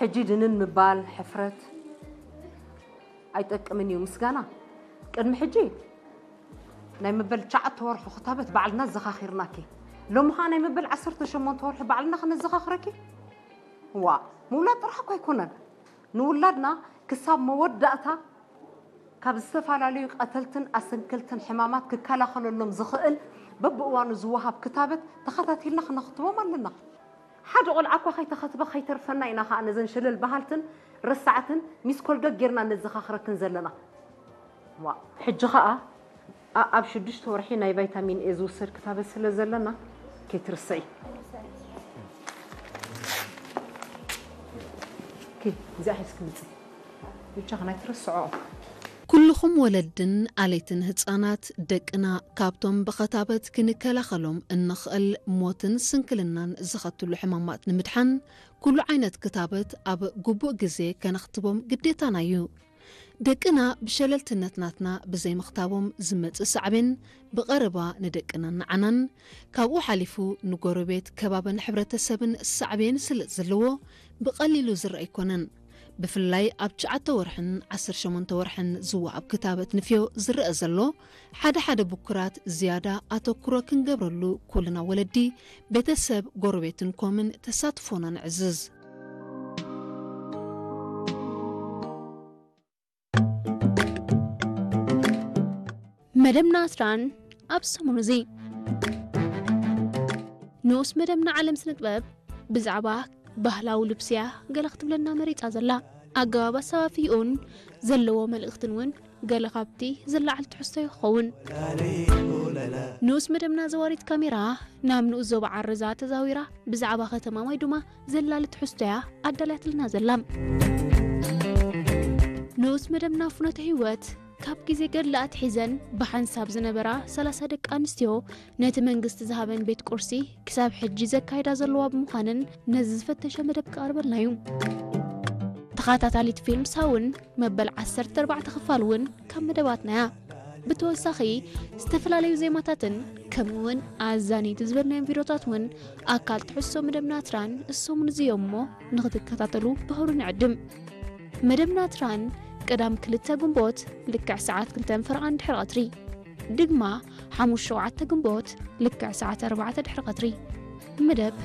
ሕጂ ድንን ምባል ሕፍረት ኣይጠቅምን እዩ። ምስጋና ቅድሚ ሕጂ ናይ መበል ትሽዓተ ወርሑ ክታበት ባዕልና ዘኻኺርናኪ፣ ሎሚ ኸዓ ናይ መበል ዓሰርተ ሸሞንተ ወርሒ ባዕልና ክነዘኻኽረኪ። ዋ፣ ምውላድ ጥራሕ እኮ ኣይኮነን። ንውላድና ክሳብ መወዳእታ ካብ ዝተፈላለዩ ቀተልትን ኣሰንከልትን ሕማማት ክከላኸለሎም ዝኽእል በብእዋኑ ዝወሃብ ክታበት ተኸታቲልና ክነኽትቦም ኣለና። ሓደ ቆልዓ እኳ ከይተኸትበ ከይተርፈና ኢና ኸዓ ነዘን ሸለል በሃልትን ረሳዕትን ሚስኮል ደግ ጌርና ነዘኻኽረክን ዘለና። ዋ፣ ሕጂ ኸዓ ኣ-፣ ኣብ ሽዱሽተ ወርሒ ናይ ቫይታሚን ኤ ዝውሰድ ክታበት ስለ ዘለና ከይትርስዒ። ኦኬ፣ እዚኣ ሒዝኪ ምፂ። ብቻ ናይ ትርስዖ። ኩልኹም ወለድን ኣለይትን ህጻናት ደቅና ካብቶም ብኸታበት ክንከላኸሎም እንኽእል ሞትን ስንክልናን ዝኸትሉ ሕማማት ንምድሓን ኩሉ ዓይነት ክታበት ኣብ ግቡእ ግዜ ከነኽትቦም ግዴታና እዩ። ደቅና ብሸለልትነት ናትና ብዘይምኽታቦም ዝመጽእ ሳዕቤን ብቐረባ ንደቅናን ንዓናን፣ ካብኡ ሓሊፉ ንጎረቤት፣ ከባብን ሕብረተሰብን ሳዕቤን ስለ ዘለዎ ብቐሊሉ ዝረኣ ኣይኮነን። ብፍላይ ኣብ ትሽዓተ ወርሕን ዓሰርተ ሸሞንተ ወርሕን ዝወሃብ ክታበት ንፍዮ ዝረኣ ዘሎ፣ ሓደ ሓደ ብኩራት ዝያዳ ኣተኩሮ ክንገብረሉ ኩልና ወለዲ፣ ቤተሰብ፣ ጎረቤትን ኮምን ተሳትፎና ነዕዝዝ። መደብና ኣስራን ኣብ ሰሙን እዚ ንኡስ መደብና ዓለም ስነ ጥበብ ብዛዕባ ባህላዊ ልብስያ ገለ ክትብለና መሪጻ ዘላ። ኣገባብ ኣሰፋፍይኡን ዘለዎ መልእኽትን እውን ገለ ካብቲ ዝለዓል ትሕዝቶ ይኸውን። ንኡስ መደብና ዘዋሪት ካሜራ ናብ ንኡስ ዞባ ዓረዛ ተዛዊራ ብዛዕባ ከተማ ማይዱማ ዘላሊ ትሕዝቶያ ኣዳልያትልና ዘላ። ንኡስ መደብና ፍኖተ ህይወት ካብ ግዜ ገድሊ ኣትሒዘን ብሓንሳብ ዝነበራ ሰላሳ ደቂ ኣንስትዮ ነቲ መንግስቲ ዝሃበን ቤት ቁርሲ ክሳብ ሕጂ ዘካይዳ ዘለዋ ብምዃነን ነዚ ዝፈተሸ መደብ ክቐርበልና እዩ። ተኸታታሊት ፊልም ሳውን መበል ዓሰርተ ኣርባዕተ ክፋል እውን ካብ መደባትና እያ። ብተወሳኺ ዝተፈላለዩ ዜማታትን ከምኡ እውን ኣዛነይቲ ዝበልናዮም ቪድዮታት እውን ኣካል ትሕዝቶ መደብና ትራን እሶምን እዚ እዮም እሞ ንኽትከታተሉ ብኽብሪ ንዕድም። መደብና ትራን ቀዳም ክልተ ግንቦት ልክዕ ሰዓት ክልተን ፈረቓን ድሕሪ ቀትሪ፣ ድግማ ሓሙሽተ ሸውዓተ ግንቦት ልክዕ ሰዓት ኣርባዕተ ድሕሪ ቀትሪ። መደብ